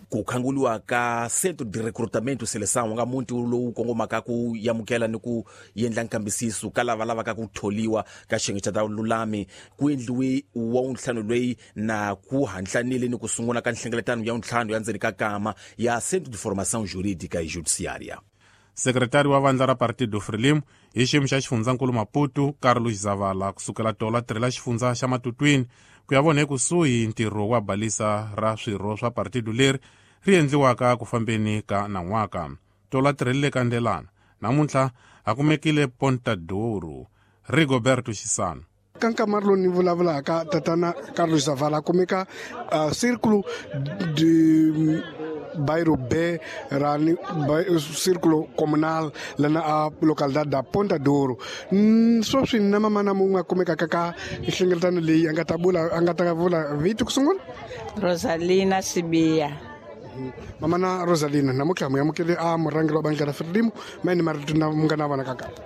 Ku khanguliwa ka Centro de Recrutamento e Seleção nga muti lowu kongomaka ku yamukela ni ku yendla nkambisiso ka lava lavaka ku tholiwa ka xiyenge xa ta vululami ku endliwe wa wuntlhanu loyi na ku hantlanile ni ku sungula ka nhlengeletano ya wuntlhanu ya ndzeni ka kama ya Centro de Formação Jurídica e Judiciária. Sekretari wa vandla ra Partido Frelimo hi xiyimo xa xifundzankulu Maputo, Carlos Zavala, kusukela tolo a tirhela xifundza xa Matutwini ku ya vona ekusuhi ntirho wa balisa ra swirho swa partido leri ri endliwaka ku fambeni ka nan'waka. Tolo a tirhelile ka Ndelana, namuntlha a kumekile Ponta Douro. Rigoberto Xisano. Ka nkamari lowu ni vulavulaka tatana Carlos Zavala kumeka Círculo de Bairro B ra ni Círculo Comunal lana a localidade da Ponta Douro. Sweswi na mamana mun'we a kumekaka ka nhlengeletano leyi a nga ta vula a nga ta vula vito ku sungula. Rosalina Sibiya. Mamana Rosalina, namuntlha mu amukele a murhangeri wa bandla ra Frelimo, ma yini marito na mu nga na vona ka kapa?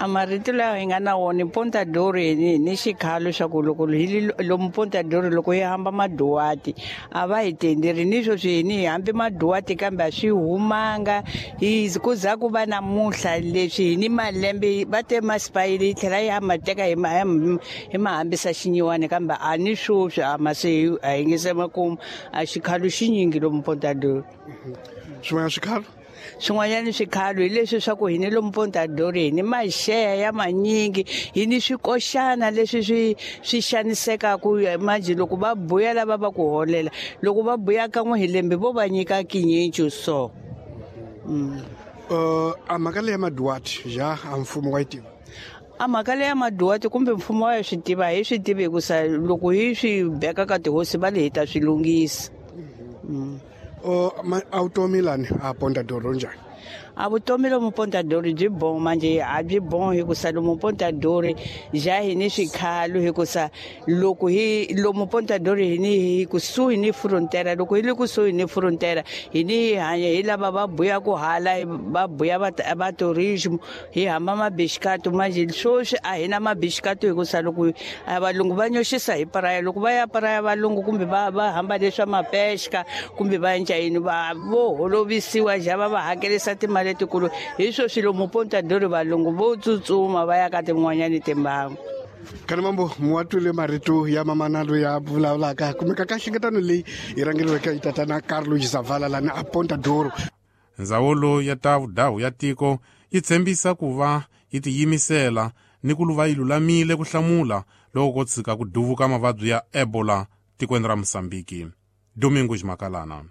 A marito lawa hi nga na wona Ponta Douro hi ni xikhalo xa ku loko hi lomu Ponta Douro loko hi hamba maduwati a va hi tenderi ni sweswi hi ni hi hambi maduwati kambe a swi humanga hi ku za ku va namuntlha leswi hi ni malembe va te masipayile yi tlhela yi ma teka hi ma hi ma hambisa xinyiwani kambe a ni sweswi a ma se a hi nge se makumu a xikhalo xinyingi lomu Ponta Douro. Swin'wana swikhalo? Swin'wanyana swikhalo hi leswi swa ku hi ni lomu Ponta Douro hi ni maxeya ya manyingi hi ni swikoxana leswi swi swi xanisekaku manjhe loko va buya lava va ku holela loko va buya kan'we hi lembe vo va nyika kinyencu so. A mhaka leyi ya maduwati ja a mfumo wa yi tiva? A mhaka leyi ya maduwati kumbe mfumo wa swi tiva hi swi tivi hikusa loko hi swi beka ka tihosi va le hi ta swi lunghisa. A vutomi lani a Ponta Douro njhani? A vutomi lomu Ponta Douro byi boho manje a byi boho hikusa lomu Ponta Douro ja hi ni swikhalo hikusa loko hi lomu Ponta Douro hi ni hi kusuhi ni frontera loko hi le kusuhi ni frontera hi ni hi hanya hi lava va buya ku hala va buya va tourism hi hamba mabixikato manje sweswi a hi na mabixikato hikusa loko a valungu va nyoxisa hi paraya loko va ya paraya valungu kumbe va va hamba leswa mapexka kumbe va endla yini va vo holovisiwa ja va va hakerisa timali letikulu hi sweswi lomu Ponta Douro valungu vo tsutsuma va ya ka tin'wanyani timbangu. Kana mambo muwatwile marito ya mamana loyi a vulavulaka kumeka ka nhlengeletano leyi yi rhangeriweke hi tatana Carlos Zavala lani a Ponta Douro. Ndzawulo ya ta vudahu ya tiko yi tshembisa ku va yi tiyimisela ni ku va yi lulamile ku hlamula loko ko tshika ku duvuka mavabyi ya Ebola tikweni ra Mozambique. Domingos Makalana.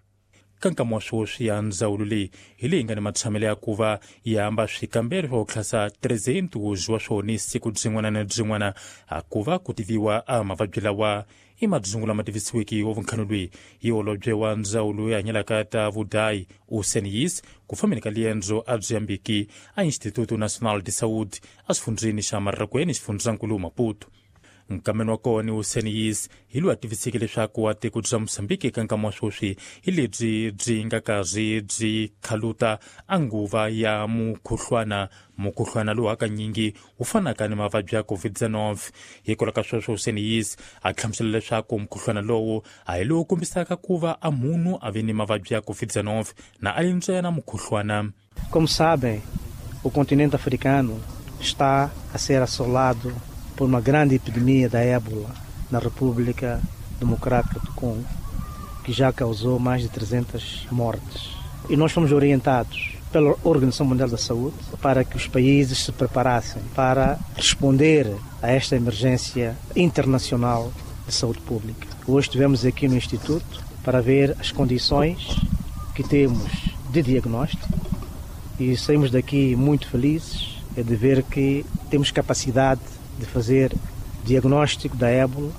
Ka nkama wa sweswi ya ndzawulo leyi hi leyi nga ni matshamelo ya ku va yi hamba swikambelo swa ku tlhasa 300 wa swona siku byin'wana na byin'wana a ku va ku tiviwa a mavabyi lawa i madzungu lama tivisiweke wa vunkhano loyi hi holobye wa ndzawulo ya hanyelaka ta vudayi Useniyis ku fambeni ka liendzo a byi yambiki a Instituto Nacional de Saúde a xifundzeni xa Marrakweni xifundzankulu Maputo. Nkameni wa kona Useniyis hi loyi a tiviseke leswaku a tiko bya Mozambique eka nkama wa sweswi hi lebyi byi nga karhi byi khaluta a nguva ya mukhuhlwana mukhuhlwana lowu hakanyingi wu fanaka ni mavabyi ya COVID-19. Hikwalaho ka sweswo Useniyis a hlamusela leswaku mukhuhlwana lowu a hi lowu kombisaka ku va a munhu a ve ni mavabyi ya COVID-19 na a li ntsena mukhuhlwana. Como sabem, o continente africano está a ser assolado por uma grande epidemia da ébola na República Democrática do Congo, que já causou mais de 300 mortes. E nós fomos orientados pela Organização Mundial da Saúde para que os países se preparassem para responder a esta emergência internacional de saúde pública. Hoje estivemos aqui no Instituto para ver as condições que temos de diagnóstico e saímos daqui muito felizes de ver que temos capacidade de fazer diagnóstico da ébola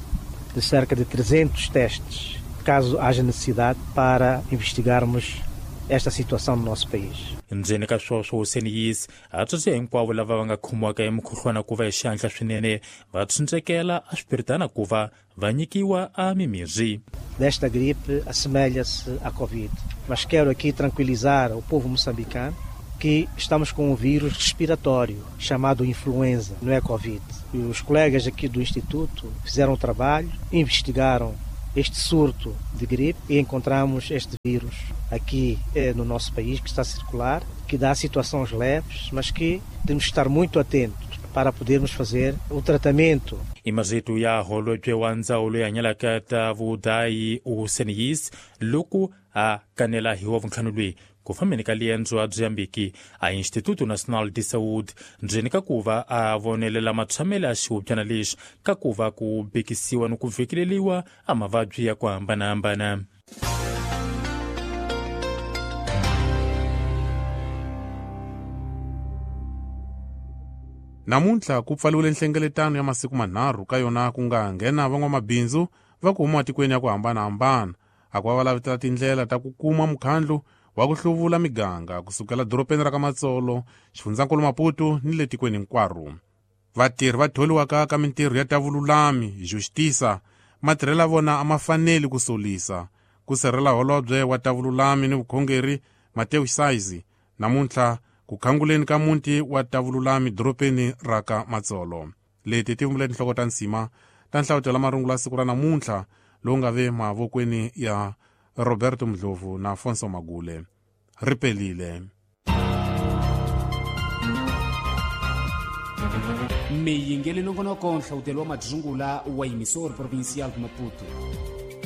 de cerca de 300 testes, caso haja necessidade, para investigarmos esta situação no nosso país. Ndzeni ka sweswo Useniyis a tsundzuxa hinkwavo lava va nga khomiwaka hi mukhuhlwana ku va hi xihatla swinene va tshundzekela a swipiritana ku va va nyikiwa a mimirhi. Desta gripe assemelha-se à Covid, mas quero aqui tranquilizar o povo moçambicano que estamos com um vírus respiratório chamado influenza, não é Covid. E os colegas aqui do Instituto fizeram o trabalho, investigaram este surto de gripe e encontramos este vírus aqui no nosso país, que está a circular, que dá situações leves, mas que temos que estar muito atentos para podermos fazer o tratamento. I marito ya holobye wa ndzawulo ya hanyalaka ta vudayi Useniyis loko a kanela hi wa vuntlhanu lweyi ku fambeni ka liendzo a byi yambiki a Instituto Nacional de Saúde ndzeni ka ku va a vonelela matshamelo ya xihubyana lexi ka ku va ku bekisiwa ni ku vhekeleliwa a mavabyi ya ku hambanahambana. Namuntlha ku pfaliwile nhlengeletano ya masiku manharhu ka yona ku nga nghena van'wamabindzu va ku huma tikweni ya ku hambanahambana a ku va va lavetela tindlela ta ku kuma mukhandlu wa ku hluvula miganga kusukela dorobeni ra ka Matsolo, xifundzankulu Maputo ni le tikweni hinkwaro. Vatirhi va tholiwaka ka mintirho ya ta vululami justisa matirhelo ya vona a ma faneli ku solisa ku sirhela holobye wa ta vululami ni vukhongeri Mateo Saizi namuntlha ku khanguleni ka muti wa ta vululami dorobeni ra ka Matsolo. Leti ti vumbile tinhloko ta nsima ta nhlavutelo marungula siku ra namuntlha lowu nga ve mavokweni ya Roberto Mdlovu na Afonso Magule. Ri pelile. Miyingeli nongonoko nhlawutelo wa madzungula wa Emissor Provincial de Maputo.